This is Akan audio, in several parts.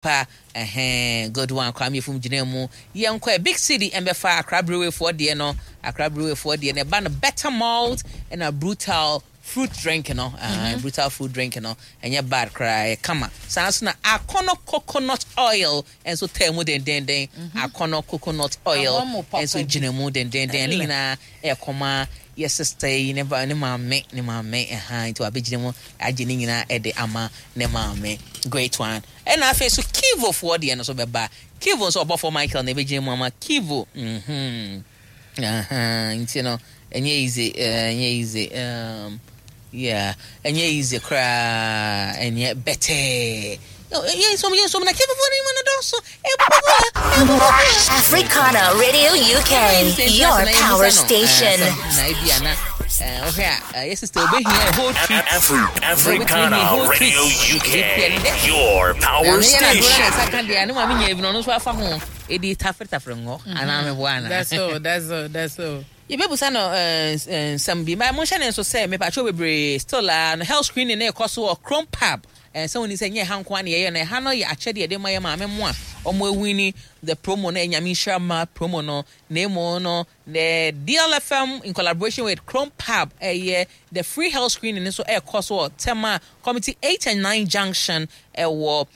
Pa ɛhɛn, good one. Kwame Efum gyina mu. Yɛnkɔ ɛ, Big City ɛmbɛfa Accra Breweryfoɔ deɛ no. Accra Breweryfoɔ deɛ no ɛba no, Better Malt ɛna Brutal Fruit Drink no. Brutal Fruit Drink no ɛnyɛ bad koraa, ɛyɛ kama. Saa nso na Akɔnɔ Coconut Oil nso taa mu dendenden. Akɔnɔ Coconut Oil nso gyina mu dendenden. Ne nyinaa ɛkɔma yɛ sister yi ne ba, ne maame, ne maame ɛhan, nti wabɛgyina mu agye ne nyinaa ɛde ama ne maame. Great one. Ɛna afei so Kivofoɔ deɛ no so bɛba. Kivo nso, ɔbɔfoɔ Michael na ɛbɛgyina mu ama Kivo. Nti no ɛnyɛ easy, ɛnyɛ easy, yeah, ɛnyɛ easy koraa, ɛnyɛ bɛtɛɛ. Yɛnsom, yɛnsom na Kivofoɔ no mu no dɔɔso. Africana Radio UK, your power station. Na ebi ana wohwɛ a, yɛ sister obɛhia a whole treat. Africana Radio UK, your power station. Nsa ka deɛ ne maame nya bi no, ɔno nso afa ho ɛdi tafere tafere ngɔ anaa meboa ana? That's all, that's all, that's all. Yɛbɛbusa no nsɛm bi ma monhyɛ ne nso sɛ mepatwo bebree still a no health screening ne ɛkɔ so wɔ Chrome Pub. Sɛ woni sɛ nyɛ ha nko a ne yɛyɛ no, ɛha no yɛ akyɛdeɛ yɛde ma yɛ maame mo a ɔmo awin the promo no, Ɛnyame Nhyira Ma promo no. Na emu no, the DLFM in collaboration with Chrome Pub ɛyɛ the free health screening nso ɛkɔ so wɔ Tema Community 8 and 9 Junction, ɛwɔ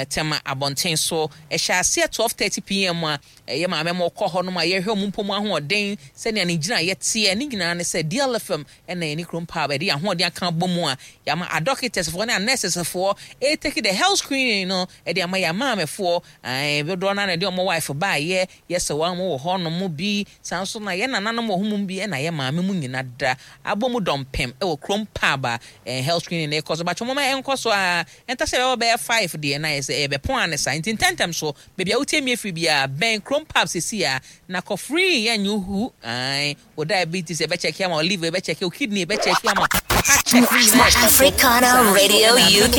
Tema abɔnten so. Ɛhyɛ aseɛ 12:30 p.m. a ɛyɛ maame mo kɔ hɔ nom a yɛhwɛ ɔmo mpɔ mu ahoɔden sɛnea ne gyina yɛteɛ. Ne nyinaa ne sɛ DLFM ɛna yɛne Chrome Pub ɛde ahoɔden aka bɔ mu a yɛama adɔkitɛsfoɔ ne anɛsɛsfoɔ ɛtake the health screening no ɛde ama yɛ amaamefoɔ. Ɛɛ, dodoɔ no na ɛde ɔmo wife baayɛ, yɛsɛ wɔn wɔ hɔ nom bi. Saa nso na yɛ nananom wɔ ho mu bi, ɛna yɛ maame mu nyina da abɔ mu dɔmpem ɛwɔ Chrome Pub a health screening no ɛkɔ so. Batwɛ mɔmɔ ɛnkɔ so a ɛnta sɛ ɛbɛbɔ bɛyɛ 5 deɛ na yɛ sɛ ɛbɛpɔn ane sa, nti ntɛntɛm so baabi a wotie mi afiri biara, bɛn Chrome Pub sisi a na kɔ free. Yɛnyɛ ohu ae, wo diabetes ɛbɛcheck ama wo, liver ɛbɛcheck wo, kidney ɛbɛcheck ama wo, heart check ne nyinaa ɛkɔ so. Africana Radio UK,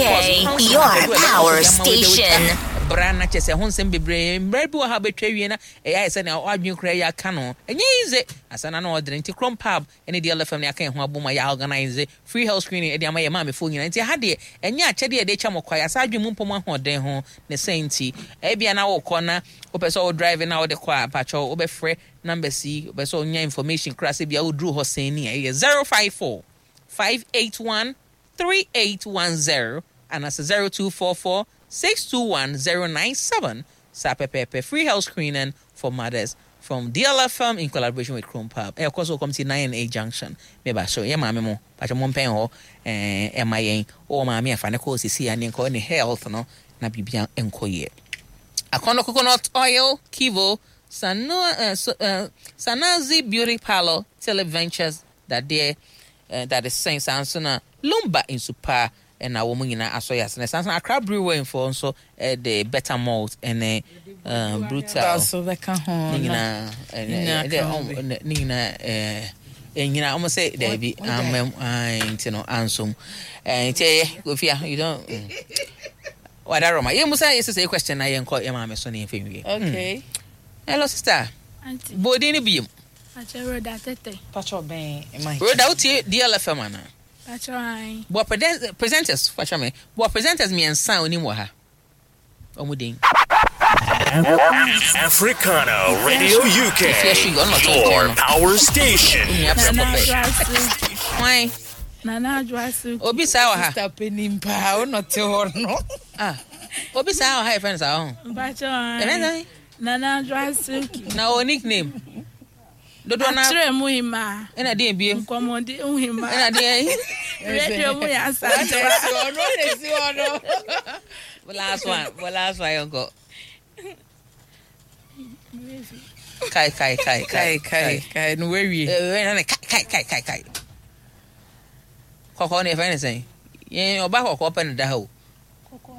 your power station. Bra na kyɛ sɛ ho nsɛm bebree mmerɛ bi wɔ ha bɛtwa wie na ɛyɛ ayɛ sɛ nea wadwene koraa yɛ aka no, ɛnyɛ easy asa na ɔdene. Nti Chrome Pub ɛne DLFM ne aka yɛn ho abom a yɛ organise free health screening ɛde ama yɛ maamefoɔ nyinaa. Nti ha deɛ ɛnyɛ akyɛdeɛ yɛde kyɛ mo kwa, yɛasa adwene mu mpɔ mu ahoɔden ho ne sɛ. Nti ebia na wokɔ na wopɛ sɛ wo drive na wode kɔ a, mpakyɛw, wobɛfrɛ numbers yi. Wopɛ sɛ wonya information koraa sɛ bia woduru hɔ sɛn ni a, ɛyɛ 054 581 3810 anaasɛ 0244 621 097. Saa pɛpɛɛpɛ, free health screening for mothers from DLFM in collaboration with Chrome Pub. Ɛkɔ so Community 9 and 8 Junction. Meba so yɛ maame mo, patwɛ mo mpɛn hɔ ɛma yɛn. Wɔwɔ maame afa ne kɔɔ sisi a ne nkɔ ne health no na biribia nkɔ yie. Akɔnɔ Coconut Oil, Kivo, Sanu, so, Sanazi Beauty Parlor, Televentures, dadeɛ dade sɛn, saa nso na Lumba nsupa ɛna wɔn nyinaa asɔ yɛ asene. Saa nso na Accra Brewery foɔ nso ɛde Better Malt ɛne Brutal so bɛka ho. Ne nyinaa nyinaa ka ho bi. Ne nyinaa nyinaa wɔn sɛ daabi amam nti no ansom nti ɛyɛ Kofia, you don't wada rɔma yɛn musa yɛ sɛ question na yɛn kɔ yɛ maame so ne yɛn fɛ nwie. Okay. Hello, sister. Auntie. Boodin ne biem. Pacho, Rhoda Tete. Pacho, bɛn mic. Rhoda, wotie DLFM ana? Pacho, ai. Bɔ presenters, fakyɛ me, bɔ presenters mmiɛnsa a onim wɔ ha, ɔmo din. Africana Radio UK, If you are sure, your power station. Onua Nana prɛko pɛ. Adwoasu. Hwan? Nana Adwoasu. Obi saa wɔ ha? Sister panin paa, wo nɔte hɔ no. Ah, obi saa wɔ ha, yɛfrɛ no saa ɔho? Pacho, yɛfrɛ ai. no sɛn? Nana Adwoasu. Na ɔwɔ nickname dodoɔ na? Akyerɛ mu hima. Ɛna deɛ biem? Nkɔmmɔdi mu hima. Ɛna deɛ? Radio mu yɛ asante. Ɔno na esi hɔ no. Last one, last one, yɛnkɔ. Kai, kai, kai. Kai, kai, kai no wawie. Ɛɛ, kai, kai, kai, kai. Kɔkɔɔ no yɛfrɛ no sɛn? Yɛn ɔba kɔkɔɔ pɛ no da ha o.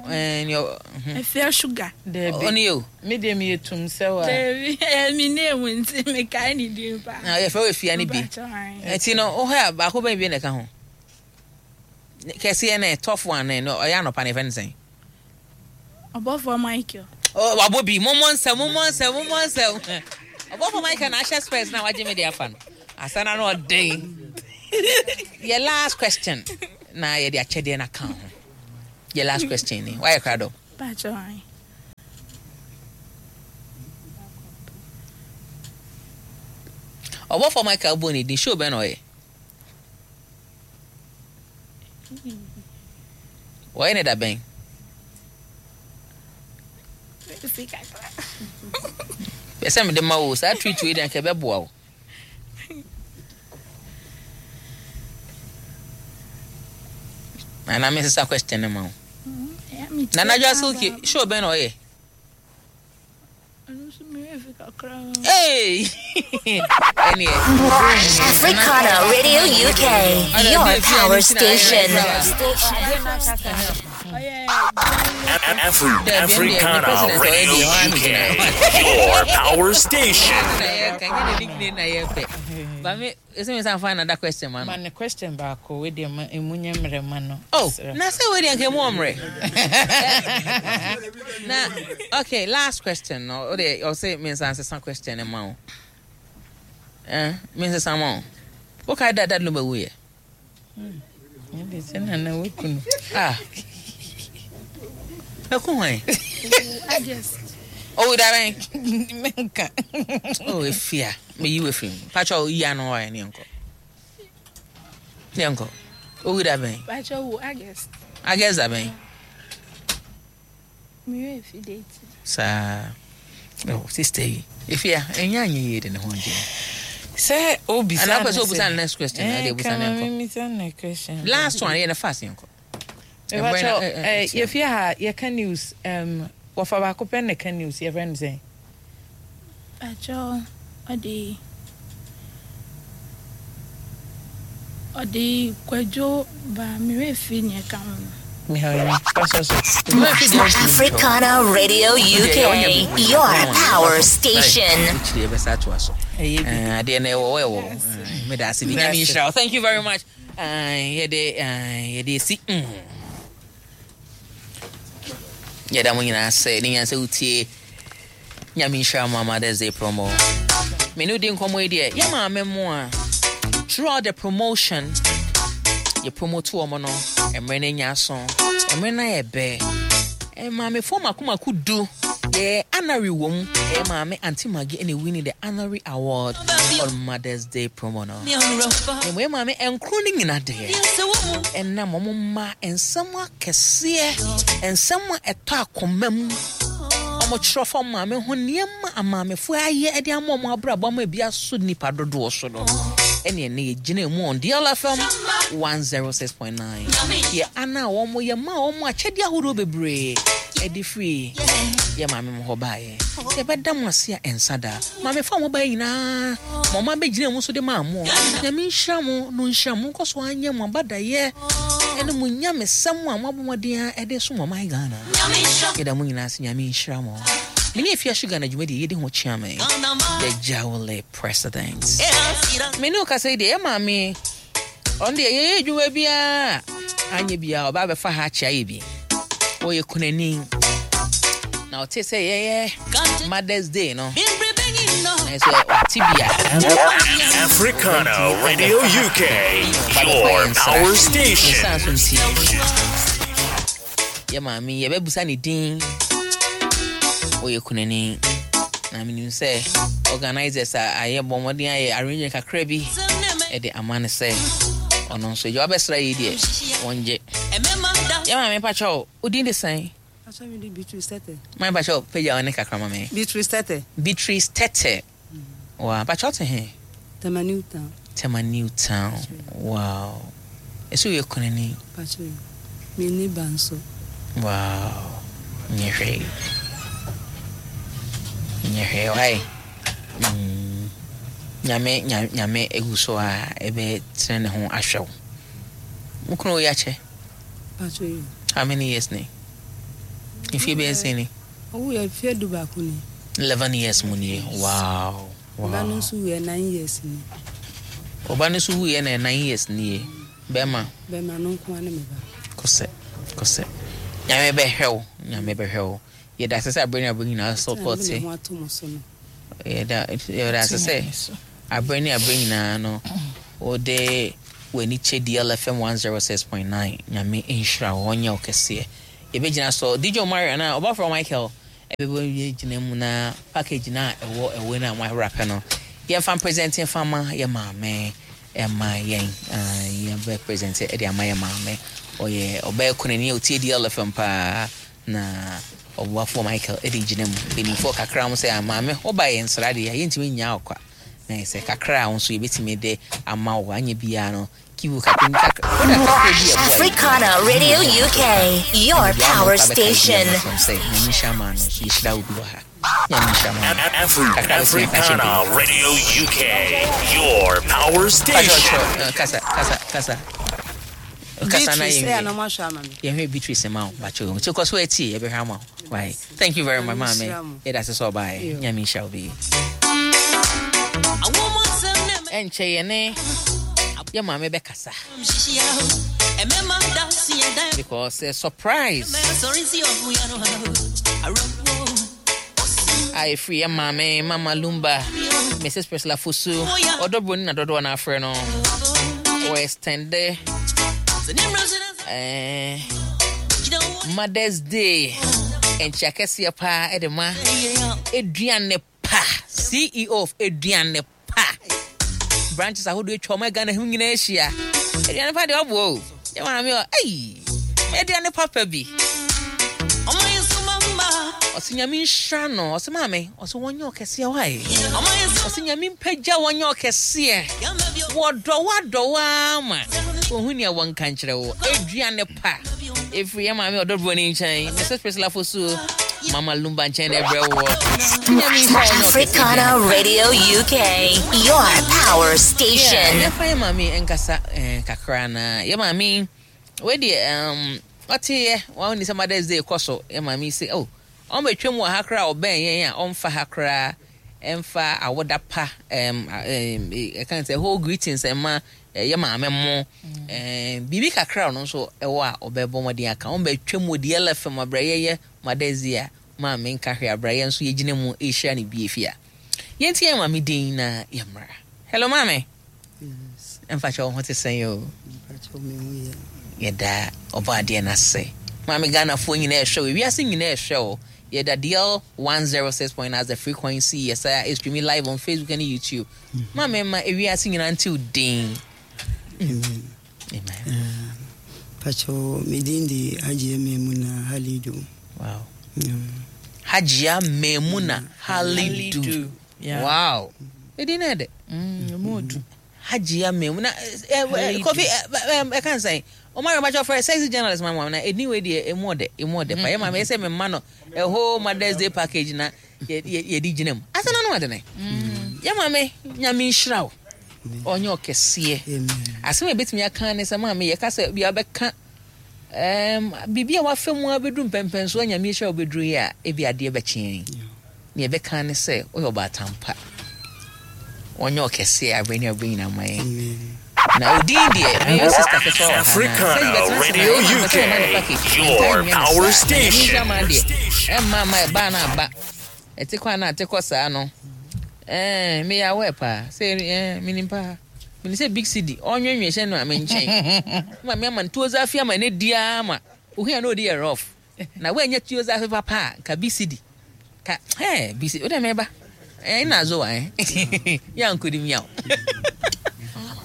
Ɛɛ, ne ɔ Efia Sugar. Daabi. Ɔne yɛ o. Me deɛ meyɛ tum sɛ wa. Dabi, mi name nti mekae ne din paa. Na yɛfrɛ wɔ Efia no bi. Pacho, ai. Ɛti no wohɔ a, baako bɛn bi na ɛka ho kɛseɛ no, tɔfo ano no, ɔyɛ anɔpa no, yɛfrɛ no sɛn? Ɔbɔfoɔ Michael. Oh, wabɔ bi. Mommɔ nsɛm, mommɔ nsɛm, mommɔ nsɛm. Ɔbɔfo Michael na ahyɛ spurs na wagye me de afa no asana no ɔden. Yɛ last question na yɛde akyɛdeɛ no aka ho. Yɛ last question ni, wayɛ krado? Pacho, ai. Ɔbɔfoɔ Michael bɔ ne din, show bɛn na ɔyɛ? Wɔyɛ ne da bɛn? Pɛ sɛ mede ma wo saa treat wei deɛ anka ɛbɛboa wo. Nana mesesa question no ma wo. Nana Adwoa Silky show bɛn na ɔyɛ? Hey! Africana Radio UK, your power station. Africana Radio UK, your power station. Ɛsɛ mi san find another question ma no. Ma no question baako wei deɛ ma emu nyɛ mmerɛ ma no. Oh, na sɛ wei deɛ nka emu ɔmmerɛ. Na okay, last question no. O deɛ ɔsɛ mi nsan sesa question no ma wo. Eh, mi nsesa ma wo. Wo kae da dad no bɛwu yɛ? Ɛde sɛ nana waku no. Ah. Ɛku hwan? August. Owu da bɛn? Menka. Oh, efia. Meyi wo afiri mu. Pakyɛ yi ano hɔ ne yɛnkɔ. Ne yɛnkɔ. Owu da bɛn? Pakyɛ wo August. August da bɛn? Mewɛ efi date. Saa. Oh, sister yi. Efia, ɛnyɛ anyɛ yie de ne ho agye. Sɛ obisa no sɛ. Anaa sɛ obisa no next question. Ɛde obisa no nkɔ. Misa no question. Last one, yɛ ne fast yɛnkɔ. Mepakyɛw, yɛfie ha yɛka news, wɔfa baako pɛ na ɛka news, yɛfrɛ no sɛn? Pakyɛw, ɔde ɔde Kwadwo ba, me werɛ firi nea ɛka ho no. Africana Radio UK, your power station. Thank you very much. Yɛde yɛde esi yɛda mo nyinaa sɛ ne nyinaa sɛ wotie Nyame nhyira mo Mother's Day promo. Me ne wodi nkɔmmɔ yi deɛ yɛ maame mo a throughout the promotion yɛ promote wɔn no mmerɛ no anya aso mmerɛ no ayɛ bɛ Maamefoɔ mako mako du yɛ honorary wɔ mu ɛyɛ maame Auntie Maggie ɛna winning the honorary award on Mother's Day promo no. Na mmom yɛ maame nkron no nyina deɛ ɛnam wɔn mma nsɛm akɛseɛ nsɛm a ɛtɔ akoma mu wɔn kyerɛ fa maame ho nneɛma amaamefoɔ ayɛ de ama wɔn abrabɔ ama ebi aso nipa dodoɔ so no ɛne ɛne yɛgyina mu on DLFM 106.9 Yɛ ana a wɔn yɛ maa wɔn akyɛdeɛ ahodoɔ bebree ɛde firi yɛ maame mo hɔ baeɛ. Yɛbɛda mo ase a ɛnsa da. Maame fa mo baeɛ nyinaa ma ɔma bɛgyina mu so de maa mo. Nyame nhyira mo no nhyira mo nkɔ so anyɛ mo abadayɛ ɛne mo nyamesɛm a moabɔ mmɔden a ɛde som ɔman Ghana. Yɛda mo nyinaa ase. Nyame nhyira mo. Me ne Afia Sugar na dwumadie yɛdi ho kyea me. The Jawle President. Me ne wo kasa yi deɛ yɛ maame Ɔno deɛ yɛyɛ adwuma biara anyɛ biara ɔba abɛfa ha akyɛ ayɛ bi. Ɔyɛ kunani. Na ɔte sɛ yɛyɛ Mother's Day no. Na sɛ ɔte bi a. Africana Radio UK, your power station. Nsan so nti. Yɛ maame yɛbɛbusa ne din. Ɔyɛ kunani. Na menim sɛ organisers a ayɛ bɔ mmɔden ayɛ arrangement kakra bi ɛde ama no sɛ ɔno nso gye wabɛsra yi deɛ wɔngye. Yɛ maame pakyɛw wo din de sɛn? Beatrice Tete. Maame pakyɛw pagya wo ne kakra ma me. Beatrice Tete. Beatrice Tete. Wow, pakyɛw te he? Tema New Town. Tema New Town. Wow. Ɛsɛ woyɛ kunani. Pakyɛw, menni ba nso. Wow. Nyɛ hwee. Nyɛ hwee why? Mm. Nyame nyame egu so a ebe tene ne ho ahwɛ wo. Wo kunu wo yakyɛ? Pakyɛw. How many years ni? Mfie bɛyɛ sɛn ni? Ɔwuiɛ mfeɛ dubaako ni. 11 years mu nie. Wow. Wow. Ɔba no nso wuiɛ 9 years ni. Ɔba no nso wuiɛ na 9 years nie. Bɛrima. Bɛrima no nko ara ne me ba. Kɔsɛ kɔsɛ. Nyame bɛhwɛ wo. Nyame bɛhwɛ wo. Yɛda ase sɛ abere ne abere nyinaa support. Sɛ ho ato mo so no. Yɛda yɛda ase sɛ abere ne abere nyinaa no wode w'ani kyɛ DLFM 106.9. Nyame nhyira wo ɔnyɛ wo kɛseɛ. Yɛbɛgyina so. DJ Omari anaa Ɔbɔfoɔ Michael ɛbɛbɔ yɛ gyina mu na package no a ɛwɔ ɛwɔ no a moawrapɛ no Yɛmfa mpresente mfa ma yɛ maame ɛma yɛn yɛbɛ presente ɛde ama yɛ maame. Ɔyɛ ɔbaa kunani a ɔtie DLFM paa na ɔboafoɔ Michael ɛde gyina mu. Mpanimfoɔ kakra wɔn sɛ maame woba yɛn nsra deɛ yɛntumi nnya wo kwa. Na yɛ sɛ kakra a wo nso yɛbɛtumi de ama wo anyɛ biara no kivu kakra bi kakra product kakra bi ɛboa yɛ. Africana Radio UK, your power station. Sɛ nyame nhyira maa no nso yɛhyira wo bi wɔ ha. Nyame nhyira maa no. Kakra bɛtumi aka akyerɛ Africana mpanyinfoɔ. Radio UK, your power station. Kasa kasa kasa. Kasa na Beatrice, yɛnwie. ɛyɛ na ɔmo ahwɛ ama me. Yɛhwɛ Beatrice ma wo bakyɛ nti kɔ so atie yɛbɛhwɛ ama wo. Why? Thank you very much Nyame maame. nhyira mo. Yɛda ase sɛ ɔbaeɛ. Yo. Nyame nhyira wo bi. Ɛnkyɛ yɛne yɛ maame bɛkasa because a surprise a ɛfiri yɛ maame Mama Lumba Mrs. Priscilla Fosu ɔdɔ broni na dodoɔ no afrɛ no wɔ extende eh, Mother's Day nkyia kɛseɛ paa ɛde ma Aduane Pa CEO of Aduane Pa branches ahodoɔ atwa ɔma Ghana ho nyinaa ahyia. Aduane pa deɛ ɔboa o. Yɛ maame ɔ ei aduane papa bi. Ɔse nyame nhyira no. Ɔse maame ɔse wɔnyɛ ɔkɛseɛ wae. Ɔse nyame mpagya wɔnyɛ ɔkɛseɛ. Wɔdɔ wadɔ waa ma. Ohu nea wɔnka nkyerɛ wo. Aduane pa. Ɛfiri yɛ maame ɔdɔ buroni nkyɛn. Mrs. Priscilla Fosu. Mama Lumba nkyɛn na ɛbrɛ woɔ. Nyame nhyira wɔnyɛ ɔkɛseɛ. Africana Radio UK, your power Yeah, station. yɛmfa yɛ maame nkasa eh, kakra na yɛ maame wei deɛ um, ɔteeɛ wɔn ni sɛ Mother's Day kɔ so yɛ maame yi sɛ oh ɔmbɛtwam wɔ ha koraa a ɔbɛn yɛn a ɔmfa ha koraa ɛmfa awoda pa ɛm ɛm ɛka sɛ whole greetings ɛma yɛ maame mo ɛm biribi kakra ɔno nso ɛwɔ a ɔbɛbɔ mmɔden aka ɔmbɛtwam wɔ DLFM abrɛ yɛyɛ Mother's Day a maame nka hwee abrɛ yɛn nso yɛgyina mu ɛrehyira no bie fie a yɛnti yɛn maame din na yɛmmra. Hello maame. Yes. Mfa kyɛ wo ho te sɛn o. Mpakyɛw me ho yɛ. Yɛda ɔbɔ adeɛ no ase. Maame Ghanafoɔ nyinaa ɛhwɛ wo, ewiase nyinaa ɛhwɛ wo. Yɛda DL 106.9 as the frequency. Yɛsa streaming live on Facebook and YouTube. Maame ma ewiase nyinaa nte wo din. Amen. Amen. Mpakyɛw me din de Hajiya Maimuna Halidu. Wow. Hajiya Maimuna Halidu. Halidu. Yeah. Wow. Edin na ɛdɛ. Emu odu. Hajiya Maimuna Halidu. Kofi ɛka nsɛn. Ɔmo ayɛ ɔmo frɛ sexy journalist ma ma na edin wei deɛ emu ɔdɛ emu ɔdɛ pa. Yɛ maame yɛ sɛ me ma no a whole Mother's Day package na yɛ yɛ yɛde gyina mu. Asa na no ade ne. Yɛ maame Nyame nhyira wo. Ɔnyɛ ɔkɛseɛ. Amen. Asɛm a ebetumi aka ne sɛ maame yɛka sɛ bia bɛka biribi a wafa mu abɛduru mpɛmpɛnsoɔ a Nyame ahyira wo bɛduru yi a ebi adeɛ bɛkye yɛn. Nea ɛbɛka ne sɛ woyɛ ɔbaatan pa. Ɔnyɛ ɔkɛseɛ aberɛ ne aberɛ nyinaa ma yɛn. Amen. Na odin deɛ meyɛ sister ketewa wɔ ha na Africana sɛ yɛbɛtena ase na Radio yɛ maame UK, sɛ ɔma no package. Ntaa your nyɛ ne power saa. Na Nyame station. nhyira ma deɛ ɛmma ma ɛbaa na aba. Ɛte kɔ a na ate kɔ saa no. Ɛɛ meyɛ aware paa sɛ ɛɛ menim paa. Menim sɛ Big City ɔnwenwe hyɛ no a me nkyɛn. Ma me ama no tuo zafi ama ne di ara ma. Ohun a na odi yɛ rough. Na woanya tuo zafi papa a nka Big City. Ka ɛɛ Big City wode meba. Ɛɛ na zo wa ɛ. Ya nkodi miaw.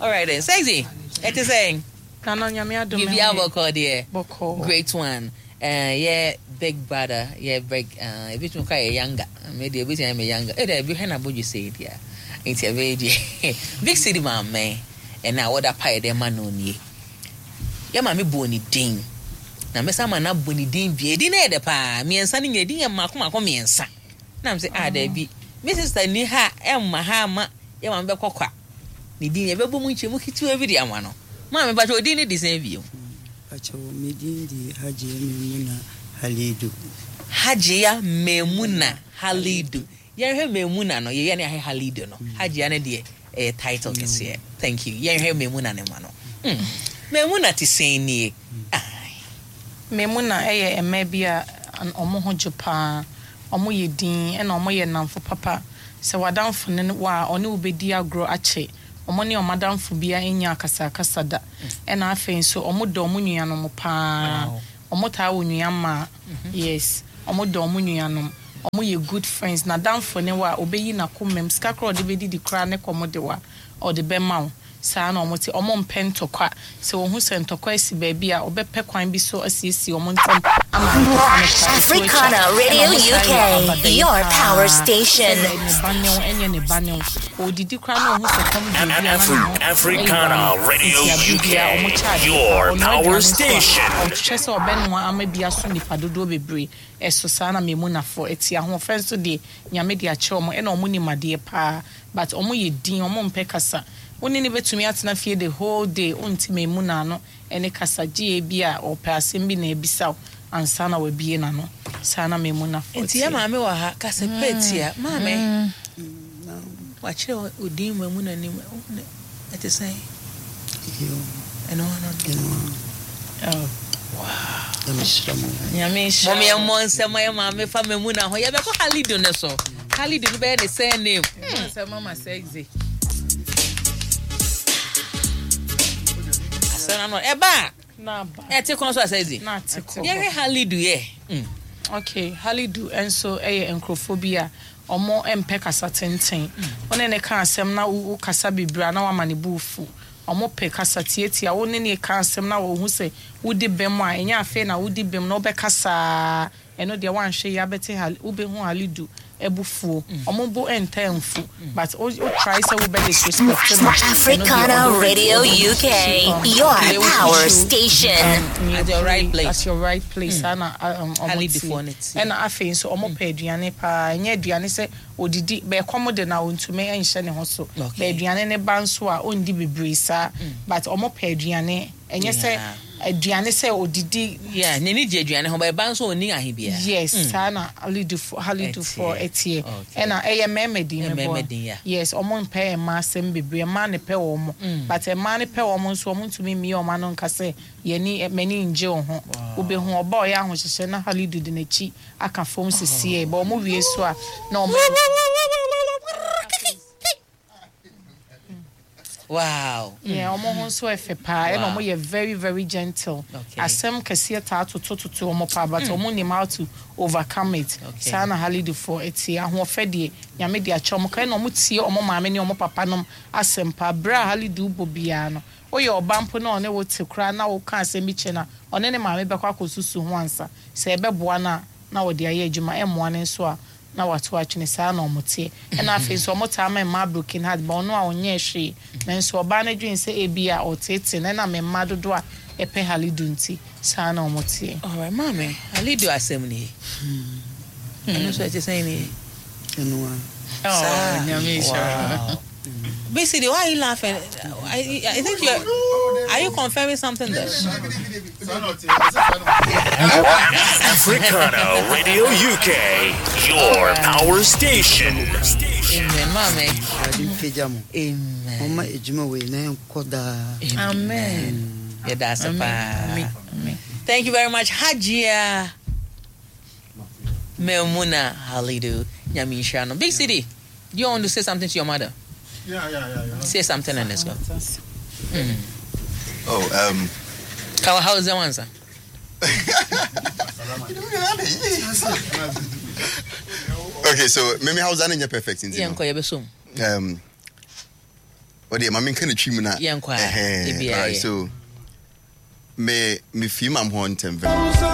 All right then. Sexy. Ɛte sɛ Nana Nyame adom Biribi ɛho yɛ. abɔkɔ deɛ. Bɔkɔɔ. Great one. Yɛ big brother, yɛ big, ebi tumi kɔ yɛ younger. Me deɛ ebi tumi ayɛ me younger. Eh, ebi hwɛ na abodwo sɛ deɛ. Nti ɛbɛyɛ deɛ. Big City maame, ɛna wɔda pa yɛ dɛ ma no nie. Yɛ maame bɔ ne din. Na mɛsa ma na bɔ ne din bie. Edin na yɛ dɛ paa. Mmiɛnsa no nyɛ edin yɛ mmaako mmaako mmiɛnsa. Na m sɛ ah daabi. Me sister ni ha ɛmma ha ama yɛ maame bɛkɔ kwa. Ne din yɛbɛbɔ mu nkyɛmu ketewa bi de ama no. Maame bakyɛ odin ne de sɛn bio. Mpakyɛw me din de Hajiya Maimuna Halidu. Hajiya Maimuna Halidu. Yɛnhwɛ Maimuna no, yɛyɛ ne ahwɛ Halidu no. Hajiya no deɛ ɛyɛ title kɛseɛ. Thank you. Yɛnhwɛ Maimuna ne ma no. Maimuna te sɛn nie? Ai. Maimuna ɛyɛ mmaa bi a ɔmo ho gye paa. Ɔmo yɛ din ɛna ɔmo yɛ nnamfo papa. Sɛ w'adamfo ne wo a ɔne wo bɛdi agorɔ akyɛ. Ɔmo ne ɔmo adamfo bia nya akasakasa da. Ɛna afei nso ɔmo dɔ ɔmo nuanom paa. Ɔmo taa wɔ nua mmaa. Yes. Ɔmo dɔ ɔmo nuanom. Ɔmo yɛ good friends. N'adamfo ne wo a, obeyi n'akoma mu. Sika koraa a ɔde bɛdidi koraa ne kɔm de wo a, ɔde bɛma wo. Saa na ɔmo te. Ɔmo mpɛ ntɔkwa. Sɛ ohu sɛ ntɔkwa asi baabi a, ɔbɛpɛ kwan bi so asiesie ɔmo ntam ama ntɔkwa no koraa ɛto atwa. Africana Ɛna Radio ɔmo san yɛ UK, abadaeɛ your paa. power station. Sɛ ne ba ne wo, ɛnyɛ ne ba ne wo. Ɔredidi koraa na ohu sɛ kɔm de obi a, na ne ho ayira Africana no. Radio Nti abere UK, biara ɔmo kyɛ ade paa. your Ɔnoa power aduane nso a, station. ɔhwɛ sɛ ɔbɛnoa ama bi aso nnipa dodoɔ bebree. Ɛso saa na Memunafo te. Ahoɔfɛ nso deɛ Nyame de akyɛ wɔn ɛna wɔn nim adeɛ paa but wɔn yɛ din, wɔn mpɛ kasa. Wo ne no bɛtumi atena fie the whole day wonte Memuna ano ɛne kasa gye ebia ɔpɛ asɛm bi na abisa wo ansa na wabue n'ano. Saa na Memunafo Nti yɛ teɛ. maame wɔ ha kasa pɛ tia maame wakyerɛ wo din Memuna nim ɛte sɛn ɛno ano no. Nyame nhyira Mom yɛ mmɔ nsɛm yɛ maame fa Memuna ho yɛbɛkɔ Halidu no so. Halidu no bɛyɛ ne surname. Sɛ mama sexy. Asɛm ano ɛba a Na aba. ɛte kɔn so asɛ Na ate kɔ. Yɛhwɛ Halidu yɛ. Okay, Halidu nso yɛ nkurɔfoɔ bi a ɔmo mpɛ kasa tenten. Wo ne ne ka asɛm na wo kasa bebree a na wama ne bo fu. Ɔmo pɛ kasa tietia. Wo ne ne ka asɛm na wɔhu sɛ wodi bem a, ɛnyɛ afei na wodi bem na wobɛkasaa. Ɛno deɛ woanhwɛ yie abɛte Hal wobɛhu Halidu abufuo. Ɔmo bo ntaa mfu but wo try sɛ wobɛ disrespect no. Ɛno deɛ Africana ɔde Radio UK, your power station. At your right place. At your right place. Saa na ɔmo Halidufoɔ no te. te. Ɛna afei nso ɔmo pɛ aduane paa. Ɛnyɛ aduane sɛ odidi bɛɛkɔm de na ontumi nhyɛ ne ho so. Okay. Bɛ aduane ne ba nso a ondi bebree saa. But ɔmo pɛ aduane. Ɛnyɛ sɛ aduane sɛ odidi. Yeah, n'ani gye aduane ho but ɛba nso onni ahe biara. Yes, saa na Halidufoɔ ɛteɛ. Okay. Ɛna ɛyɛ mmarima din Ɛyɛ meboa. mmarima din, yeah. Yes, ɔmo mpɛ mmaa asɛm bebree. Mmaa ne pɛ wɔn. But mmaa ne pɛ wɔn nso ɔmo ntumi mmie wɔn ano nka sɛ yɛni m'ani ngye wo ho. Wobɛhu ɔba a ɔyɛ ahohyehyɛ na Halidu de n'akyi aka fam sisiɛ. But ɔmo wie so a na ɔmo. Wow. Yeah, ɔmo ho nso ɛfɛ paa. Ɛna ɔmo yɛ very very gentle. Okay. Asɛm kɛseɛ taa totototo ɔmo paa but ɔmo nim how to overcome it. Okay. Saa na Halidufoɔ ɛte. Ahoɔfɛ deɛ Nyame de akyɛ ɔmo ka ɛna ɔmo tie ɔmo maame ne ɔmo papa nom asɛm paa. Berɛ a Halidu bɔ biara no, woyɛ ɔba mpo na ɔne wo te koraa na woka asɛm bi kyerɛ no a, ɔne ne maame bɛkɔ akɔsusu ho ansa. Sɛ ɛbɛboa no a, na wɔde ayɛ adwuma. Ɛmmoa no nso a, na wato atwene. Saa na ɔmo teɛ. Ɛna afei nso ɔmo taa ma mmaa broken heart ba ɔno a ɔnyɛɛ hwee. Nanso ɔbaa no dwen sɛ ebi a ɔtete no ɛna mmaa dodoɔ a ɛpɛ Halidu nti saa na ɔmo teɛ. Alright, maame, Halidu asɛm nie. Ɛno nso ɛte sɛn nie? Ɛno a. Saa. Nyame nhyira. Wow. BCD, why are you laughing? I think you're. Are you confirming something there? Africana Radio UK, your power station. Amen, maame. Awurade mpagya mo. Amen. Ɔmma adwuma wei na ɛnkɔ daa. Amen. Yɛda ase paa. Amen. Amen. Thank you very much, Hajia Memuna Halidu. Nyame nhyira no. Big City, do you want to say something to your mother? Yeah. Say something and let's go. Oh, How is that one, sir? Okay, so maybe how's that in your perfect? Yeah, nko yɛbɛsom. Well, yeah, mami nka ne twi mu na. Yeah, nkɔ a, Ɛhɛn, ebi a Alright, yɛ. so me fi mam hɔ ntɛm.